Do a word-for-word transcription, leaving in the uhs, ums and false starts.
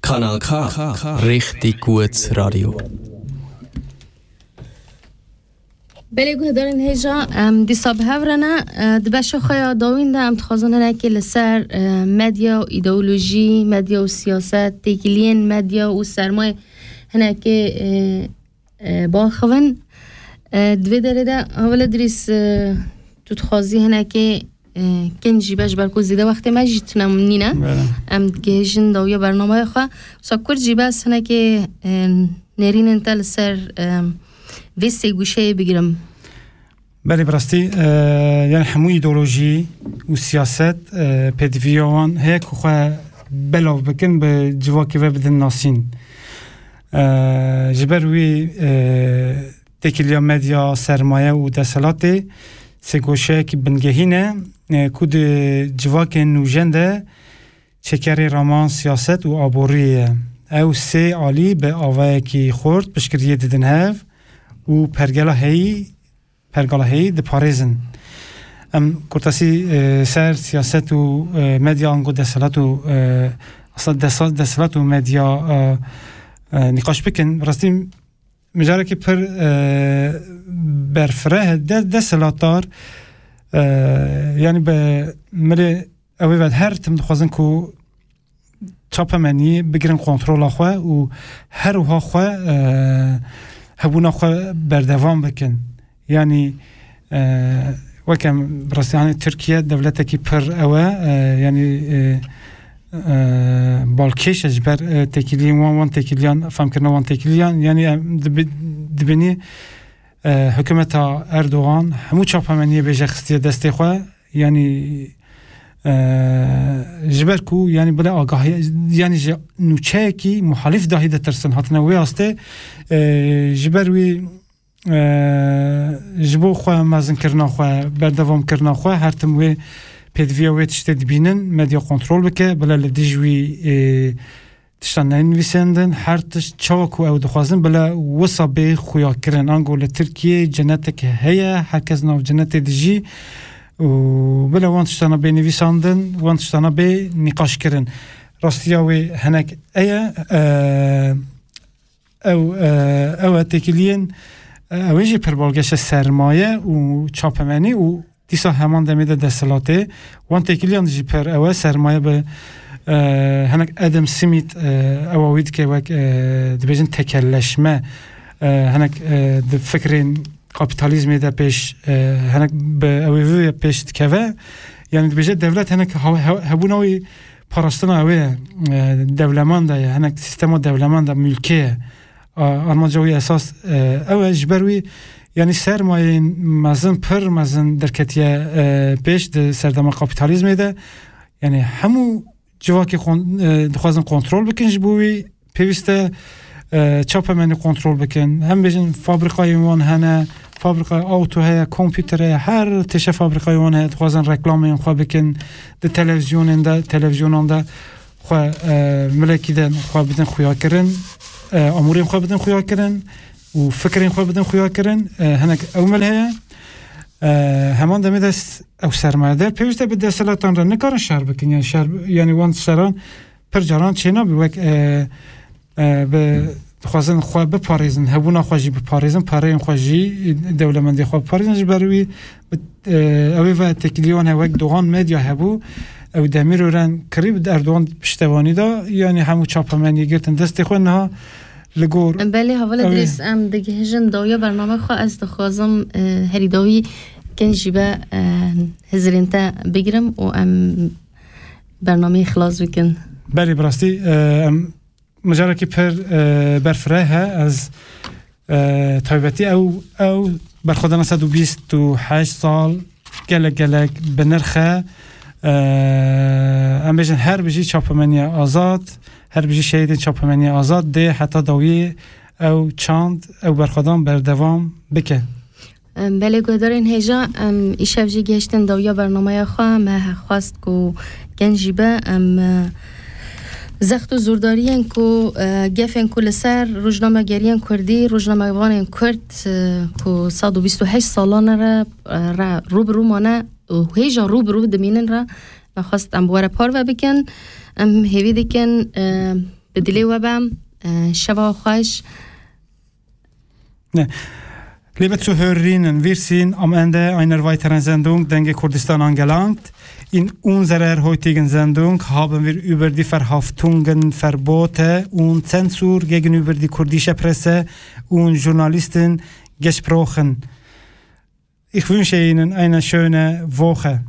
Kanal K, Richtig gut Radio. Belê guhdarên hêja, em dîsa bi hev re ne. E, di beşa xwe ya dawîn de em dixwazin hinekê li ser, e, medya û îdeolojî, medya û siyaset, têkiliyên medya û sermayê hinekê, e, e, biaxivin. E, di vê derê de, Heval Idrîs, e, tu dixwazî hinekê, e, kincî be, ji ber ku zêde wextê me jî tune nîne. Belê. Em digihêjin dawiya bernameya xwe. Wisa kurt jî be, ez hinekê, e, nêrînên te li ser, e, vê sê gûşeyê bigirim. Belê, bi rastî, e, yani hemû îdeolojî û siyaset, e, pêdiviya wan heye ku xwe belav bikin, bi civakê ve bidin nasîn. E, ji ber wî, e, têkiliya medya, sermaye û desthilatê sêgoşeyekî bingehîn e, e, ku di civakên nûjen de çekerê raman siyaset û aboriyê ye. Ew sê alî bi avayekî xurt piştgiriyê didin hev û pergela heyî, pergala heyî diparêzin. Em kurtasî, e, ser siyaset û, e, medya ango desthilat û, e, asla desa-, desthilat û medya, e, e, nîqaş bikin. Rastî mijarekî pir, e, berfireh e, de-, desthilatdar, e, yani bi milê ew ê ve her tim dixwazin ku çapemenî bigirin kontrola xwe û her wiha xwe, e, hebûna xwe berdewam bikin. Yani, e, weke em bi rastî, hani Tirkiye dewletekî pir ew e, e, yani, e, e, balkêş e ji ber, e, têkiliyên wan, wan têkiliyan, femkirina wan têkiliyan. Yani em dibi-, dibînî, e, hikûmeta Erdogan hemû çapemeniyê bêje xistiye destê xwe. Yani, e, ji ber ku, yani, bila agahiya, yani, ji nûçeyekî muhalîf dahî ditirsin, hatine wê astê, e, ji ber wî, e, ji bo xwe mezinkirina xwe, berdewamkirina xwe, her tim wê pêdiviya wê tiştê dibînin, medya kontrol bike, bila li dij wî, e, tiştan nenivîsandin, her tişt çawa ku ew dixwazin, bila wisa bê xuyakirin. Ango li Tirkiyê cenetek heye, herkes nav cenetê dijî û bila wan tiştana bê nivîsandin, wan tiştana bê nîqaş kirin. Rastiya wê hinek eye, e, ew, e, ew e têkiliyên, e, ew ê jî pir balgeş e sermaye û çapemenî û dîsa heman demê de desthilatê. Wan têkiliyan jî pir ew e, sermaye bi, e, hinek Adam Smith, e, ewa wî dike wek, e, dibêjin tekelleşme, e, hinek, e, di fikrên kapîtalîzmê de pêş, e, hinek bi ew ê vê pêş dikeve. Yani dibêje dewlet hinek ha-, he-, hebûna wî parastina ew ê, e, dewlemend e, hinek sîstema dewlemend e, mülkê ye. A-, armanca wî esas, e, ew e, ji ber wî, yanî sermayeyên mezin, pir mezin derketiye, e, pêş di serdema kapîtalîzmê de. Yanî hemû civakê kon-, e, dixwazin kontrol bikin, ji bo wî pêwîst e, e, çapemenî kontrol bikin. Em bêjin fabrîkayên wan hene, fabrîkaya awto heye, kompûter heye, her tişe fabrîkayên wan heye, dixwazin reklamên xwe bikin di televîzyonên de, televîzyonan de. Xwe, e, milekî de xwe bidin xuyakirin, e, amûrên xwe bidin xuyakirin û fikrên xwe bidin xuyakirin. E, hinek ew mil heye. E, heman demê de s-, ew sermayedar pêwîst e bi desthilatan re nikarin şer bikin. Yani şer, yani wan şeran pir caran çênabî wek, e, e, bi, dixwazin xwe biparêzin, hebûna xwe jî biparêzin, pereyên xwe jî, dewlemendê xwe biparêzin. Ji ber wî bi, e, ew ê ve têkilî wan heye, wek Doğan Medya hebû, ew Demirören kirî, bi Erdogan piştevanî da, yanî hemû çapemeniyê girtin destê xwe, niha li gor Belê, Heval Idrîs, em digihîjin dawiya bername xwe, ez dixwazim, e, herî dawî kin jî be, e, hizirên te bigirim û em bernameyê xilas bikin. Belê, bi rastî, e, em mijarekî pir, e, berfireh e. Ez, e, taybetî ew, ew berxwedana sed û bîst û heşt sal gelek, gelek bi nirx e. E, em bêjin her bijî çapemeniya azad, her bijî şehîdên çapemeniya azad dê heta dawiyê ew çand, ew berxwedan berdewam bike. Em, belê guhdarên hêja, em, îşev jî gihiştin dawiya bernameya xwe. Me xwest ku kin jî be, em, e, zext û zordariyên ku, e, gefên ku li ser rojnamegeriyên kurdî, rojnamevanên kurd, e, ku sed û bîst û heşt salan re, e, re rû bi rû mane û hêja rû bi rû dimînin re, me xwest em bi we re parve bikin. Em hêvî dikin, e, Bi dilê we bem, e, şeva xweş. Liebe Zuhörerinnen, wir sind am Ende einer weiteren Sendung Dengê Kurdistan angelangt. In unserer heutigen Sendung haben wir über die Verhaftungen, Verbote und Zensur gegenüber die kurdische Presse und Journalisten gesprochen. Ich wünsche Ihnen eine schöne Woche.